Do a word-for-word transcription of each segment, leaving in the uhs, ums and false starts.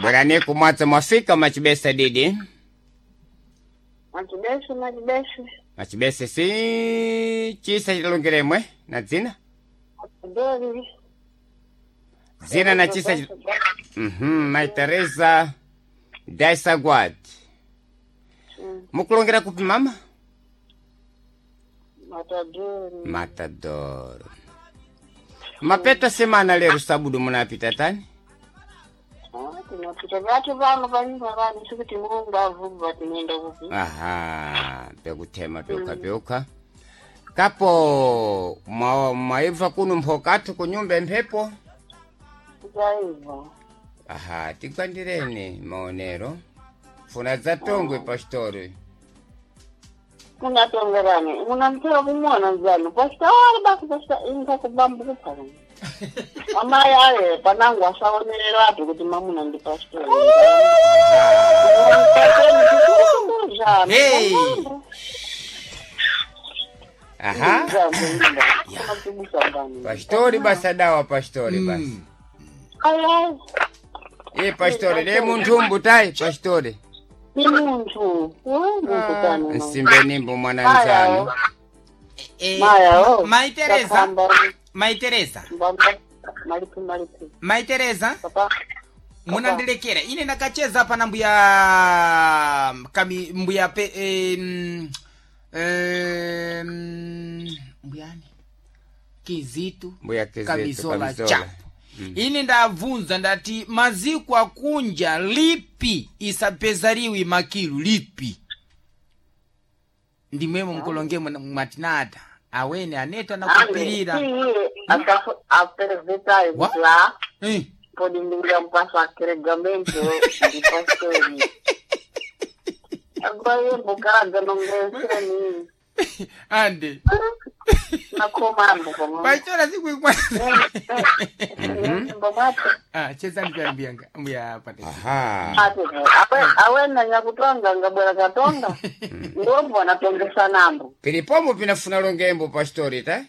Bwerani kumwadza mwafika machibesa didi. Machibesi machibesi. Machibesa si chisa chitalongeremwe na dzina Dori. dzina na chisa chi- Mhm, Mai Teresa Daisagwad. Mukulongera kupi mama? Matadori. Matador. Mapeta semana lero sabudu munapita tani? Ah, tinopita vatu vano panyumba vanu sikuti mulungu avubva tinoenda kupi. Aha, pekutema peuka peuka. Kapo mwa- mwaibva kuno mphokathu kunyumba emphepo. Tikaibva. Aha, tigwandireni maonero. Funa dzatongwe pastori. Munatongerani. Munamtera kumona nzanu. Pasita wari basi pasita inga kubambu kupana. Amai aye panangu asaonerera atu kuti mamuna ndi pastor. Hey. Aha, pastori basa dawa pastori basi. Iye pastori le munthumbu tayi pastori. Ni muntu muntu kani Nsimbe nimbo mwana nzanu. Eh, Maya o Mai Teresa, Mai Teresa, malipi malipi Mai Teresa, papa munandilekera ine ndakacheza pana mbuya kami mbuya pe em, em, mbuyani kizitu Mbuya Kizitu, kamizola Kamizola. chapo ine ndabvunza ndati maziko akunja lipi isapezariwi makilu lipi ndimwemo mkulongemo mwatinata awene aneta nakupirira iye aperezetayo Wa? kuti a Eh. podi ndikuda mupasa akeregamento ndi pastori agora mbokaraga nongeseni ande nakomambo pamwe pachora sikuikwanza mbomwapo ah chezani pya mbuya mbuya pate Aha. awena nyakutonga ngabwera katonga ndombo anatongesa nambo Pilipomo pinafuna longembo pastori ta?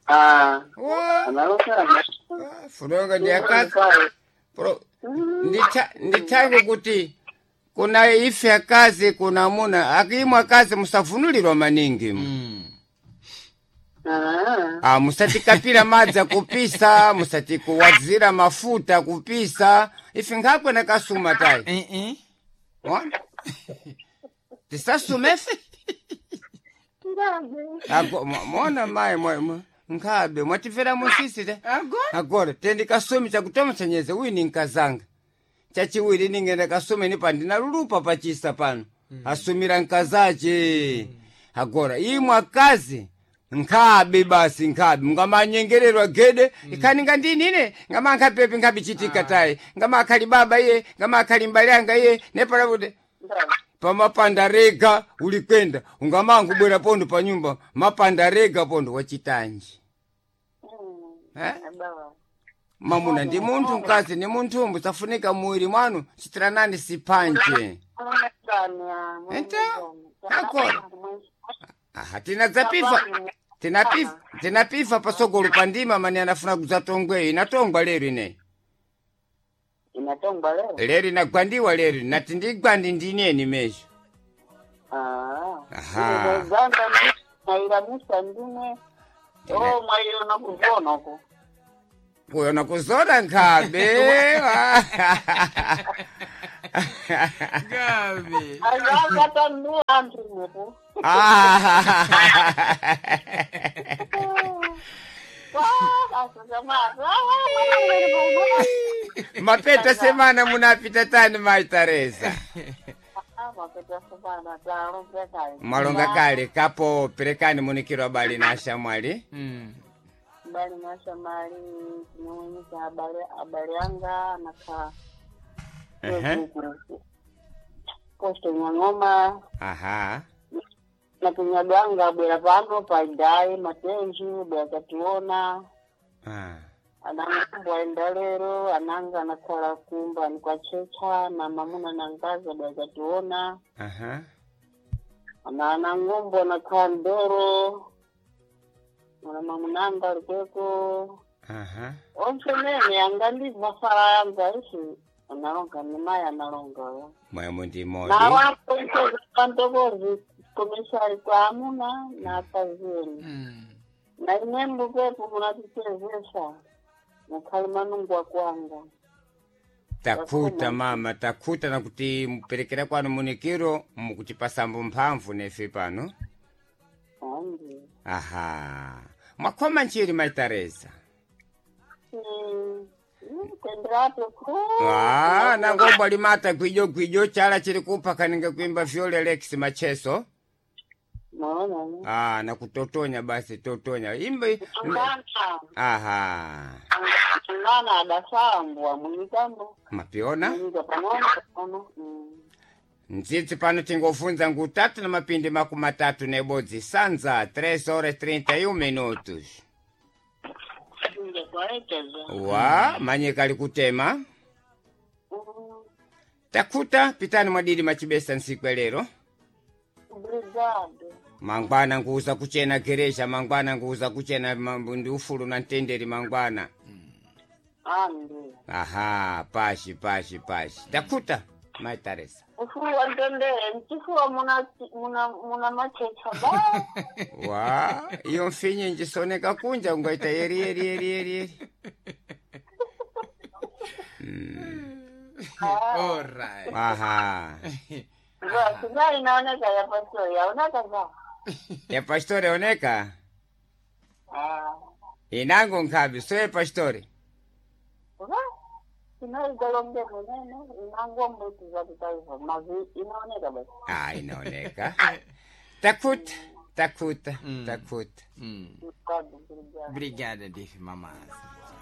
Ah, Wa, analosera ah, funonga ndi akazi. Pro, nditha ndithange kuti kuna ife akazi kuna amuna akimwe akazi musavunulirwa maningi mm. Ah, musatikapira madzi akupisa musatikuwadzira mafuta akupisa ife nkhakwe nakasuma tayi eh eh Ona? tisasume ife Ago- mo- mona mayi mwa- mwa- nkhabe mwatifera musisi te agora agora tendi kasumi chakutomsenyeze wini nkazanga chachiwiri ningenda kasumi ni pandinalulupa pachisa pano asumira nkazache agora imwe akazi nkhabe basi nkhabe mungamanyengererwa gede ikhani ngandini ine ngamankhapepi nkhabe chitika tayi ngamakhali baba iye ngamakhali mbali anga iye nepalakuti pamapanda rega ulikwenda ungamangu bwera pondo pa nyumba mapanda rega pondo wachitanji eh? Mamuna ndi munthu mkazi ni munthu musafunika muwiri mwanu chitiranani sipanje Enta, agora. Aha, tinadzapifa tinapifa tinapifa pasogolo pandima mani anafuna kudzatongweyo inatongwa lero ineyi inatongwa lero lero inagwandiwa lero nati ndigwandi ndineni mesho Ah. Aha. Uganda nairamusa ndimwe o mwaiona kuzona uko kuyona kuzona nkhabe gabe azakatanua anthu inepo mapeta semana munapita tani mai Teresa mwalonga kale kapo perekani munikiro abali na ashamwali mm bali nashamali tinomwenyika abale abale anga naka Ehe. posto nyang'oma aha na kinyaganga bwera pano paidai matenji bwera kationa Ah. ananga aenda lero ananga anakhala kumba ni kwa checha na mamuna na ngaza bwera kationa aha ana anangombo anakhala ndoro na mamunanga alikweko Aha. Onse mene angandibva fara yanza isi analonga ni mai analonga. Mwemo ndi modi. Na wapo pantokozi komishari kwa amuna na akazeni. Mm. Na imwe mbupepo munatichezesa mukhali manungwa kwanga. Takuta mama, takuta na kuti muperekera kwanu munikiro mukutipasambo mphamvu nefe pano. Andi. Aha. Mwakhoma nchiri mai Teresa. Mm. Kwenderapo ku. Ah, nangomba limata gwijo gwijo chala chiri kupha kaninga kuimba vyole Lex Macheso. Maona. Ah, na kutotonya basi totonya. Imba. Ngana. Aha. Ngana adasambwa mwitambo. Mapiona? Mwiga pang'ono pang'ono. Mm. Ndzidzi pano tingofunza ngutatu na mapindi makumi matatu nebodzi sanza tres horas trinta e um minutos. Inge kwaeteza. Wa manyika ali kutema. Mm. Takuta pitani mwadidi machibesa nsiku ya lero. Obrigado. Mangwana nguza kuchena gereja, mangwana nguza kuchena mambo ndi ufulu na mtendere mangwana. Andi. Aha, pashi pashi pashi. Takuta mai Teresa. Ufuwa ntendere nchifuwa muna muna muna machecha ba. Wa, iyo mfinyi njisoneka kunja ungaita yeri yeri yeri yeri yeri. Alright. Aha. Za singa inaoneka ya pastor yaoneka za. Ya pastore oneka. Ah. Inango nkhabi soye pastore. Ba. Sina igalonge munene inangombo tizatitaifa mazi inaoneka basi. Ah, inaoneka. Takuta, takuta, Mm. takuta. Mm. Obrigado, obrigado. Obrigada, Dife Mamazi.